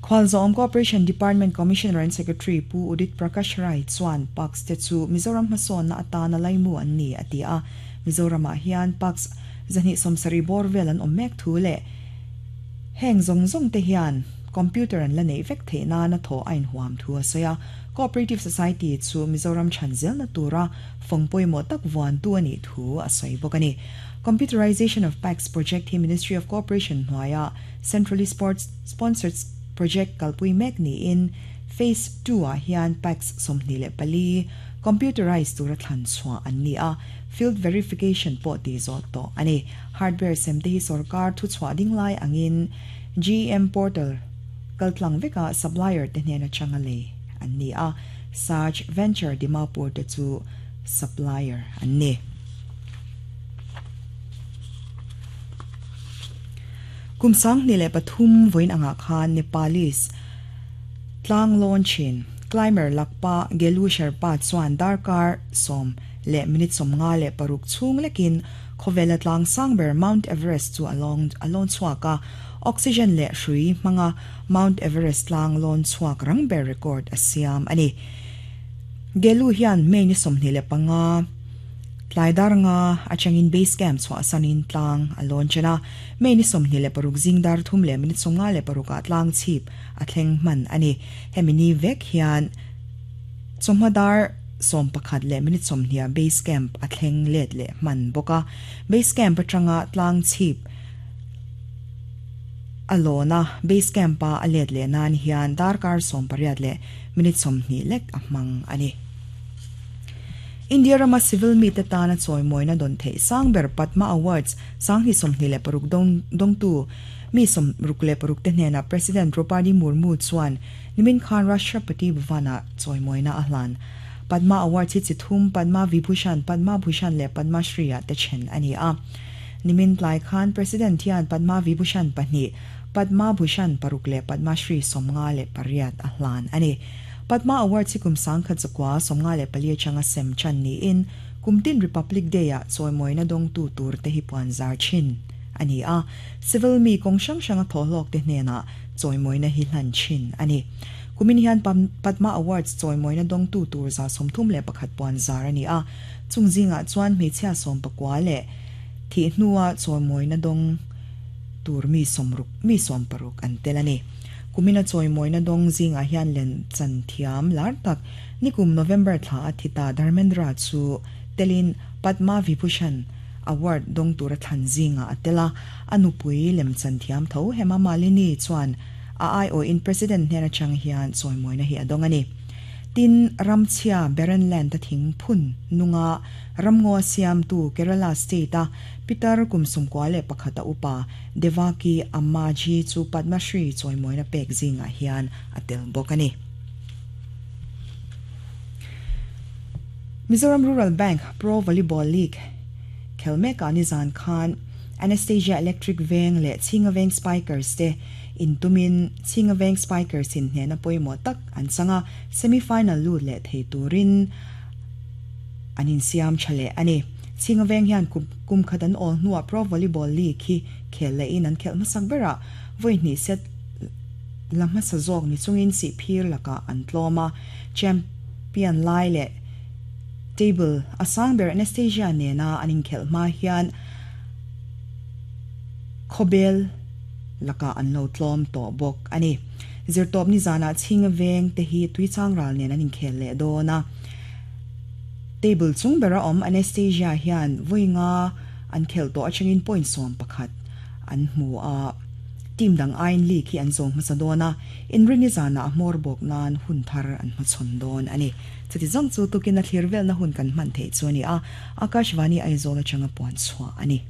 Khualzawm Cooperation Department Commissioner and Secretary Pu Udit Prakash Rai chuan PACS te chu Mizoram hmasawnna atana laimu an ni a ti a. Mizoramah hian PACS 270 bawr vel an awm mek thu leh heng zawng zawng te hian computer an la neih vek theih nana thaw a inhuam thu a sawi a. Cooperative Society chu Mizoram chhan zelna tura fawng pawimawh tak vuantu a nih thu a sawi bawk a ni. Computerization of PACS project hi Ministry of Cooperation hnuaia Centrally Sponsored Project kalpui mek niin Phase II-ah hian PACS 24 computerized tura thlan chhuah an ni a, field verification pawh tih zawh tawh a ni. Hardware sem te hi sorkar thuchhuah ding lai angin GEM portal kaltlang veka supplier te hnen atanga lei an ni a, Saj Venture Dimapur te chu supplier an ni. Kum 2003 vawiin angah khan Nepalese tlang lawn thin climber Lakpa Gelu Sherpa chuan darkar 10 minute 56 chhung lekin khawvela tlang sang ber Mount Everest chu a lawn chhuak a, oxygen leh hrui hmanga Mount Everest tlang lawn chhuak rang ber record a siam a ni. Gelu hian May ni 25 tlai dar nga atangin base camp chhuah sanin tlang a lawn chen a, May ni 26 zing dar 3 minute 56 ah tlang chhip a thleng hman a ni. Hemi ni vek hian chawhma dar 11 minute 20 base camp a thleng let leh hman bawk a. Base camp atanga tlang chhip a lawna base camp a a let leh nan hian darkar 18 minute 20 lek a hmang a ni. India rama civil mi te tana chawimawina don theih sang ber Padma Awards 2026 dawngtu mi 66 te hnena President Droupadi Murmu chuan nimin khan Rashtrapati Bhavana chawimawina a hlan. Padma Awards hi chi thum Padma Vibhushan, Padma Bhushan leh Padma Shri ah te then a ni a. Nimin tlai khan President hian Padma Vibhushan pahnih, Padma Bhushan paruk leh Padma Shri 58 a hlan a ni. Padma Awards hi kum 1994 atanga sem chan niin kumtin Republic Day ah chawimawina dawngtu tur te hi puan zar thin a ni a. Civil mi kawng hrang hranga thawhlawk te hnenah chawimawina hi hlan thin a ni. Kumin hian Padma Awards chawimawina dawngtu tur 131 puan zar a ni a. Chung zingah chuan hmeichhia 19 leh thih hnua chawimawina dawng tur mi 60 mi 60 an tel a ni. Kumina chawimawina dawng zingah hian len chan thiam lar tak nikum November thla a thita Dharmendra chu telin Padma Vibhushan Award dawng tura thlan zingah a tel a. A nupui lem chan thiam tho Hema Malini chuan a ai aw in President hnen atang hian chawimawina hi a dawng a ni. Tin ramchhia barren land a thing phun nunga ramngaw siam tu Kerala state a pitar kum 91 a upa Devaki Ammaji chu Padma Shri chawimawina pek zingah hian a tel bawk a ni. Mizoram Rural Bank Pro Volleyball League khel meka nizan khan Anastasia Electric Veng leh Chhinga Veng Spikers te intumin Chhinga Veng Spikers in hnena pawimawh tak an changa semi-final lut leh thei turin an insiam tha leh a ni. Chhinga Veng hian kum khat an awl hnuah Pro Volleyball League hi khel leh in an khelh hmasak berah vawi hnih set la hmasa zawk ni chungin si phir lakah an tlawm a. Champion lai leh table a sang ber Anastasia nena an inkhelh hma hian khawbel lakah an lo tlawm tawh bawk a ni. Zirtawp ni zanah Chhinga Veng te hi tuichang ral nen an inkhel leh dawn a. Table chung bera awm Anastasia hian vawi nga an khelh tawh atangin point 11 an hmu a. Team dang aiin league hi an zawng hmasa dawn a. Inrini zanah a hmawr bawk nan hun thar an hmachhawn dawn a ni. Chuti zawng chu tukin a thlir velna hun kan hman theih chu a ni a. Akashvani Aizawl atanga puan chhuah a ni.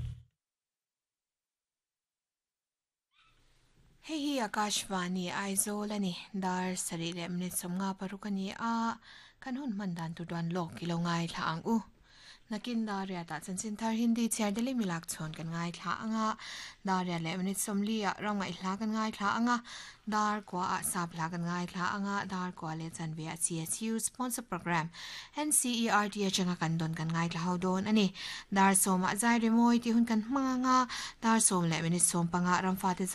Hei hi Akashvani Aizawl a ni. Dar 7 minute 56 a ni a. Kan hun hman dan tur duan lawk i lo ngai thla ang u. Nakin dar riatah chanchin thar Hindi chhiar deli milak chhawn kan ngai thla anga. Dar 8 minute 40 ah ram ngaih hla kan ngai thla anga. Dar kwa ah sap hla kan ngai thla anga. Dar kwa leh chanve ah CSU sponsor program NCERT atanga kan don kan ngai thla ho dawn ani. Dar 10 ah zai remawi ti hun kan hmang anga. Dar 10 leh minute 15 ramfa te.